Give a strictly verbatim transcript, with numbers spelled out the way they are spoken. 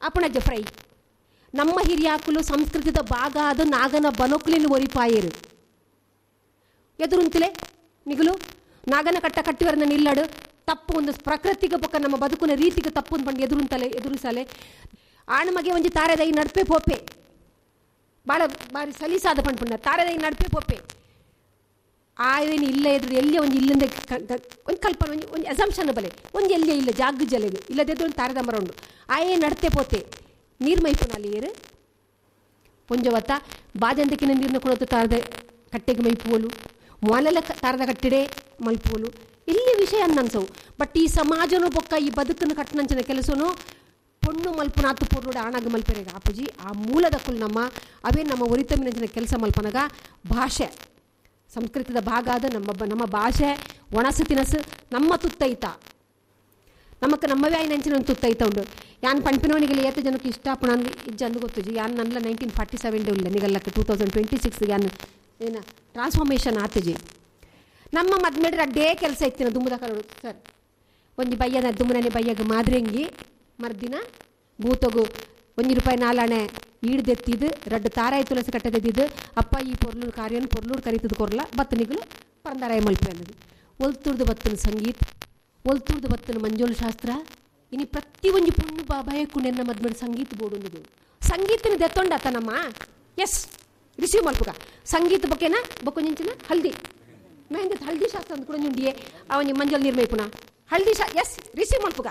ಅಪಣಜ fry. ನಮ್ಮ ಹಿರಿಯಾಕುಲು ಸಂಸ್ಕೃತಿದ ಭಾಗ ಅದು ನಾಗನ ಬನೊಕ್ಲಿನ ಒರಿಪಾಯರು ಎದುರುಂತಲೇ ನಿಗುಲು ನಾಗನ ಕಟ್ಟ ಕಟ್ಟಿವರನ್ನ ನಿಲ್ಲಡು ತಪ್ಪು ಒಂದು ಪ್ರಕೃತಿಗೆ ಬೊಕ್ಕ ನಮ್ಮ ಬದುಕುನ ರೀತಿಗೆ ತಪ್ಪು ಬಂದು ಎದುರುಂತಲೆ ಎದುರಿಸಲೆ ಆಣಮಗೆ ಒಂಜಿ ತಾರೆದೈ ನಡ್ಪೆ ಪೋಪೆ ಬಾಳ ಬಾರಿ ಸಲೀಸಾದ ಪಂಡ್ಪುಂಡ ತಾರೆದೈ ನಡ್ಪೆ ಪೋಪೆ ಆಯ್ದೇನು ಇಲ್ಲ ಎದುರು ಎಲ್ಲಿ ಒಂಜಿ ಇಲ್ಲಿಂದ ಒಂದು ಕಲ್ಪನೆ ಒಂಜಿ ಒಂಜಿ ಅಸಂಪ್ಷನ್ ಬಲೆ ಒಂಜಿ ಎಲ್ಲಿ ಇಲ್ಲ ಜಾಗ್ ಜಲೆಗು ಇಲ್ಲದೆದ್ದು ಒಂದು ತಾರೆದ ಮರ ಉಂಡು ಆಯೇ ನಡ್ತೆ ಪೋತೆ ನೀರು ಮೈಪುನ ಏರು ಪೊಂಜವತ್ತ ಬಾಜಂತಕ್ಕಿನ ನೀರನ್ನ ಕೊಡೋದು ತಾರದ ಕಟ್ಟೆಗೆ ಮೈಪುವಲು ಮೊಲಲ ತಾರದ ಕಟ್ಟಿಡೆ ಮಲ್ಪುವಲು ಇಲ್ಲಿ ವಿಷಯ ಅನ್ಸವು. ಬಟ್ ಈ ಸಮಾಜನೂ ಬೊಕ್ಕ ಈ ಬದುಕನ್ನು ಕಟ್ಟನಂಚಿನ ಕೆಲಸನು ಪೊಣ್ಣು ಮಲ್ಪುನಾತು ಪೊರ್ಲುಡ ಆಣಾಗ ಮಲ್ಪೆರೆಗ ಆಪುಜಿ. ಆ ಮೂಲದ ಕುಲ್ ನಮ್ಮ ಅವೇ ನಮ್ಮ ಒರಿತಮ್ಮಿನಂಚಿನ ಕೆಲಸ ಮಲ್ಪನಗ ಭಾಷೆ ಸಂಸ್ಕೃತದ ಭಾಗ ಆದ ನಮ್ಮ ನಮ್ಮ ಭಾಷೆ ಒಣಸು ತಿನಸು ನಮ್ಮ ತುತ್ತೈತ ನಮಕ್ ನಮ್ಮವೇ ಆಯ್ನಂಚಿನ ಒಂದು ತುತ್ತೈತ ಉಂಡು. ಯಾನ್ ಪಂಪಿನವನಿಗೆ ಏತ ಜನಕ್ಕೆ ಇಷ್ಟ ಪುಣನ್ ಇಜ್ಜಂದು ಗೊತ್ತುಜಿ. ಯಾನ್ ನನ್ನ ನೈನ್ಟೀನ್ ಫಾರ್ಟಿ ಸೆವೆನ್ ಉಲ್ಲ ನಿಗಲ್ಲಕ್ಕೆ ಟೂ ತೌಸಂಡ್ ಟ್ವೆಂಟಿ ಸಿಕ್ಸ್ ಯಾನ್ ಏನ ಟ್ರಾನ್ಸ್ಫಾರ್ಮೇಷನ್ ಆತಜಿ. ನಮ್ಮ ಮದ್ಮೇಡ್ರ ಅಡ್ಡೇ ಕೆಲಸ ಇತ್ತಿನ ದುಮ್ಮದ ಕರೋಡು ಸರ್ ಒಂಜಿ ಬಯ್ಯನ ದುಮ್ಮನೆ ಬಯ್ಯಗ ಮಾದ್ರೆಂಗಿ ಮರ್ದಿನ ಬೂತಗು ಒಂಜಿ ರೂಪಾಯಿ ನಾಲಾಣೆ ಈಡ್ದೆತ್ತಿದ್ದು ರಡ್ಡು ತಾರಾಯಿ ತುಳಸಿ ಕಟ್ಟದೆದ್ದಿದ್ದು ಅಪ್ಪ ಈ ಪೊರ್ಲೂರು ಕಾರ್ಯನ ಪೊರ್ಲೂರು ಕರೀತದ ಕೊರ್ಲ ಬತ್ತನಿಗಳು ಪರಂದಾರಾಯ ಮಲ್ಪೆ ಅನ್ನೋದು. ಒಲ್ತುರ್ದು ಬತ್ತನ ಸಂಗೀತ, ಒಲ್ತುರ್ದು ಬತ್ತನ ಮಂಜೋಲು ಶಾಸ್ತ್ರ, ಇನಿ ಪ್ರತಿ ಒಂಜಿ ಪೊಣ್ಣು ಬಾಬಾಯಕ್ಕೂ ನೆನ್ನ ಮದ್ಮೇಲೆ ಸಂಗೀತ ಬೋಡೊಂದು ಸಂಗೀತನ ದೆತ್ತೊಂಡಾತ ನಮ್ಮ ಎಸ್ ರಿಸೀವ್ ಮಲ್ಪುಗ ಸಂಗೀತ ಬೊಕ್ಕೆನ ಬೊಕ್ಕೊಂಜಿನ ಹಲ್ದಿ ಮೆಹಂದಿ ಹಲ್ದಿ ಶಾಸ್ತ್ರ ಅಂದ್ ಕೂಡ ಉಂಡಿಯೇ ಅವನಿ ಮಂಜಲ್ ನಿರ್ಮೈಪುನ ಹಲ್ದಿ ಶಾ ಎಸ್ ರಿಸೀವ್ ಮಲ್ಪುಗ.